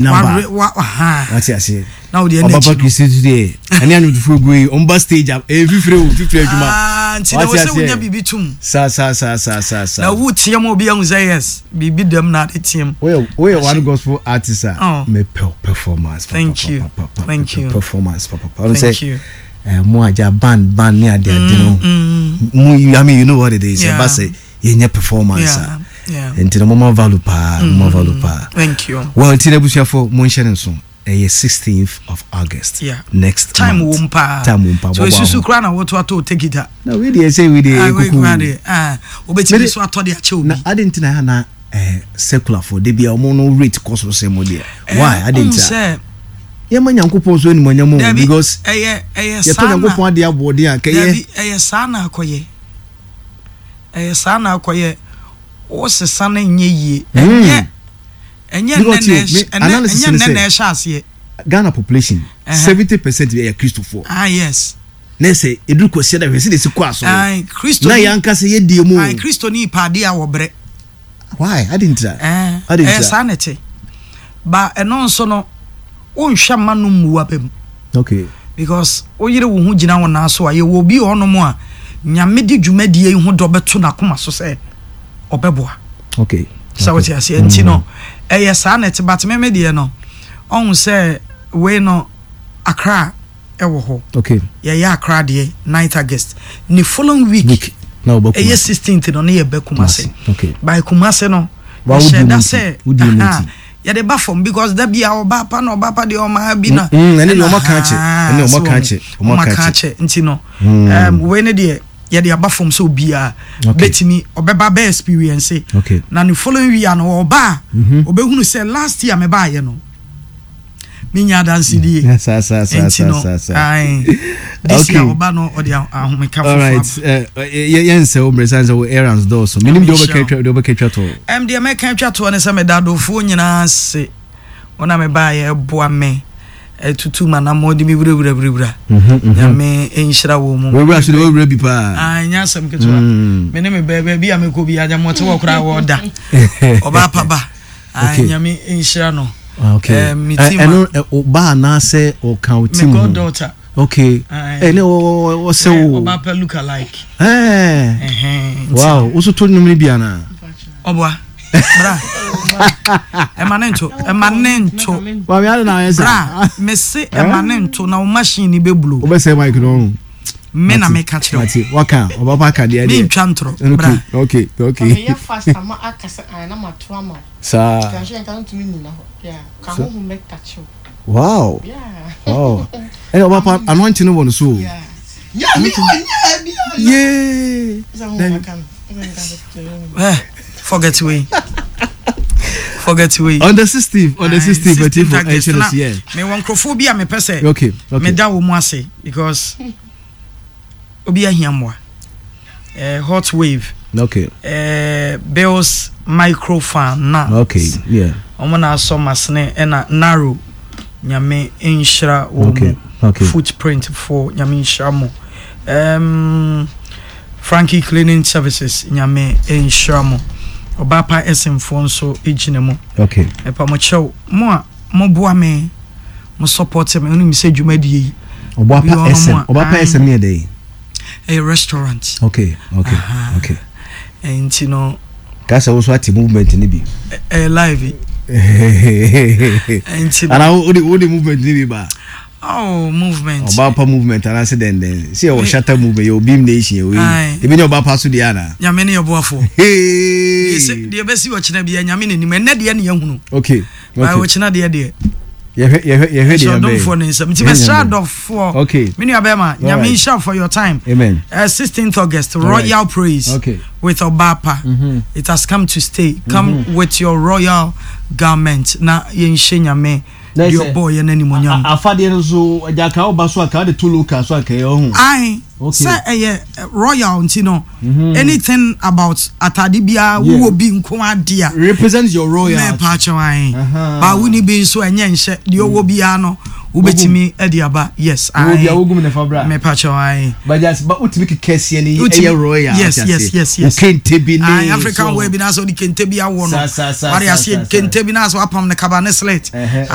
Number. Wa wa Wate aseɛ. Na wo deɛ ɛna Ɔbapa akyi no. Kristi nso deɛ ɛne anwomtofoɔ gu yi ɔmba stage a ɛyɛ fifire o fifire adwuma. Ah, nti na Wate wɔ sɛ aseɛ. wonya biribi tum. Saa saa saa saa saa saa. Na wo teɛ mu obi ahu sɛ yes, biribi dɛm na ade teɛ mu. Woyɛ woyɛ one gospel artist a Oh. mepɛ wo performance. Thank you. papa, papa, Thank mepɛ you. Performance papa. papa. Ɔno Thank sɛ you. eh, mo agya band band ne ade ade no. Mo I mean you know what it is. Yeah. Ɛba sɛ yɛnyɛ performance a. Yeah. Nti no moma value paa, moma value paa. Thank you. Well, nti na abusuafo monhyɛ ne nso. Ɛyɛ 16th of August. Yeah. Next Time month. wɔ mu paa. Time wɔ mu paa. So Bɔbɔ esusu aho. koraa na wɔto atɔ tekita. Na wei deɛ sɛ wei deɛ Ah, wei kuku. koraa deɛ. Ah, wobɛtumi Mede- so atɔ de akyɛ obi. Na ade nti na ɛha na eh, secular fo de bia ɔmo no rate kɔ soro sɛ mo deɛ. Why? Ade Wohu nti a. sɛ Yɛma Nyankopɔn so animuonyam o dabi because ɛyɛ ɛyɛ yɛtɔ saa na Nyankopɔn adeɛ aboɔden a kɛyɛ. dabi ɛyɛ saa na akɔyɛ. Ɛyɛ saa na akɔyɛ. Wosesa no nyɛ yie. Ɛnyɛ ɛnyɛ nnɛ Because na you, ɛhyɛ me ɛnɛ analysis ɛnyɛ ne nnɛ na sɛ ɛhyɛ aseɛ. Ghana population 70% yɛ Kristofoɔ. Ah yes. Na sɛ ɛduru Kwasiada hwɛ sɛdeɛ ɛsi kɔ asɔre. Aye, Kristo Na ni. yɛn ankasa yɛdie mu o. Aye, Kristo ni pɛ adeɛ a wɔbrɛ. Why? Adi ntira. Eh, Adi ɛyɛ ntira. saa na ɛte. Ba ɛno nso no, wonhwɛ mma no mmu aba mu. Okay. Because woyere wo ho gyina wo nan so a, yɛwɔ obi wɔ hɔnom a, Nyame de dwumadie yi ho dɔ bɛto n'akoma so sɛ ɔbɛboa. Okay. Sɛ wote aseɛ nti no, ɛyɛ saa na ɛte. But me me deɛ no, ɔhu sɛ wei no, Accra ɛwɔ hɔ. Okay. Yɛyɛ Accra deɛ 9th August. Ne following week, Week. Na wɔbɛ ɛyɛ Kumasi. 16th no ne yɛbɛ Kumasi. Kumasi. Okay. By Kumasi no, Wa wodi yɛhyɛ mu da nti. sɛ Wodi mu aha, nti. yɛde ba fam because da bia ɔba pa na ɔba pa deɛ ɔma bi na ɛne deɛ ɔma ka akyɛ. Ɛne ɔma so ka akyɛ. Ɔma ɔma ka ka akyɛ. akyɛ nti no wei ne deɛ yɛde aba fam sɛ obiara bɛtumi ɔbɛba bɛ experience na ne following week ano ɔba a ɔbɛhunu sɛ last year mebaayɛ no menya adansedie nti no this year ɔba no ɔde ahomeka foforɔ aba. Yɛnsɛ wo mmerɛ sane sɛ wo errands dɔɔso. Menim deɛ wobɛka twa toɔ. Deɛ mɛka twa toɔ ne sɛ meda adɔfoɔ nyinaa ase wɔn a mebaayɛ ɛboa me ɛtutu m'anammɔn de me wurawura wurawura. Nyame nhyira wɔ mu. Wurawura so de wurawura bi paa. Nyɛ asɛm ketewa. Me ne me bɛɛ baabi a mekɔ bi agyamɔte wɔ koraa wɔda. Ɔbaa pa ba. Nyame nhyira no. Okay. Me team. Ɛno ɔba anaasɛ ɔka wo team ho? Me goddaughter. Okay. Ɛne ɔsɛ wo. Ɔba pa look alike. Wow. Woso to nnwom no bi anaa? Ɔboa. Bra. Ɛma ne nto. Ɛma ne nto. Maame ade na ayɛ sa. Bra. Mese ɛma ne nto na wo machine ni bɛ blow. Wobɛsɛ mic no ɔho. Me na meka kyerɛ wo. Mate. Waka. Ɔba pa ka deɛ deɛ. Mentwa ntorɔ. Bra. Okay. Okay. Meyɛ fast ama aka sɛ an na mato ama wo. Saa. Nka nka ntumi nyina hɔ. Yeah. Ka honhom bɛ touch wo. Wow. Yeah. Wow. Ɛna ɔba pa anointing no wɔ no so. Yeah. Yeah, me yeah, me Yeah. Eh, forget we. Forget we. On the 16th, on the 16th, but if I yeah. Me wɔ nkurɔfoɔ bi a mepɛ sɛ Okay. meda wɔ mu ase because obi ahia mmoa. Hot wave. Okay. Bills microfinance. Okay, yeah. Wɔn na asɔ masene ɛna narrow. Nyame nhyira wɔn Okay, okay. Footprint for Nyame nhyira mo. Frankie Cleaning Services Nyame nhyira mo. Ɔbaapa Ɛsenfoɔ nso gyina mu. Okay. Ɛpa mo kyɛw mo a mo boa me mo support me onim sɛ dwumadie yi. Ɔbaapa SM. Ɔbaapa SM ne yɛ dɛ. Ɛyɛ restaurant. Okay, okay, okay. Nti no. Kasa wo so ate movement ni bi. Ɛyɛ live. Nti no. Ana wo de movement ni bi ba. Oh, movement. Ɔbaapa movement anaasɛ dɛndɛn. Sɛ yɛwɔ Shatta movement, yɛwɔ Beam Nation, yɛwɔ yi. Ebi ne ɔbaapa so deɛ ana? Nyame ne yɛboafoɔ. Hey! Deɛ bɛsi ɔkyena bia Nyame n'anim. Ɛnɛ deɛ ne yɛhunu. Okay. Okay. Ɔkyena deɛ deɛ. Yɛhwɛ yɛhwɛ yɛhwɛ deɛ bɛyɛ. Ɔdomfoɔ ne nsɛm. Nti mesrɛ adɔfoɔ. Okay. Me nua bɛrima, Nyame nhyira for your time. Amen. 16th August, Royal right. Praise. Okay. With Obapa. It has come to stay. Come with your royal garment. Na yɛnhyɛ Nyame. Deɛ ɔbɔɔ yɛn animuonyam. Afadeɛ no nso agya ka woba so a ka wode to local so anka ɛyɛ ɔho. Ae, sɛ ɛyɛ royal nti no, anything about atade biara wowɔ bi nko ade a. Represent your royal. Mɛpa akyɛw ae. Ba wonni bi nso ɛnyɛ nhyɛ deɛ ɔwɔ biara no wobɛtumi de aba yes ae. Wowɔ bi a wogum ne fa bra. Mɛpa akyɛw ae. But just but wotumi keka sie no ɛyɛ royal. Yes. Wo kente bi ne. Ae African wear bi na sɛ wode kente bi awɔ no. Sa sa sa. Wade aseɛ kente bi na sɛ wapam no kaba ne slit.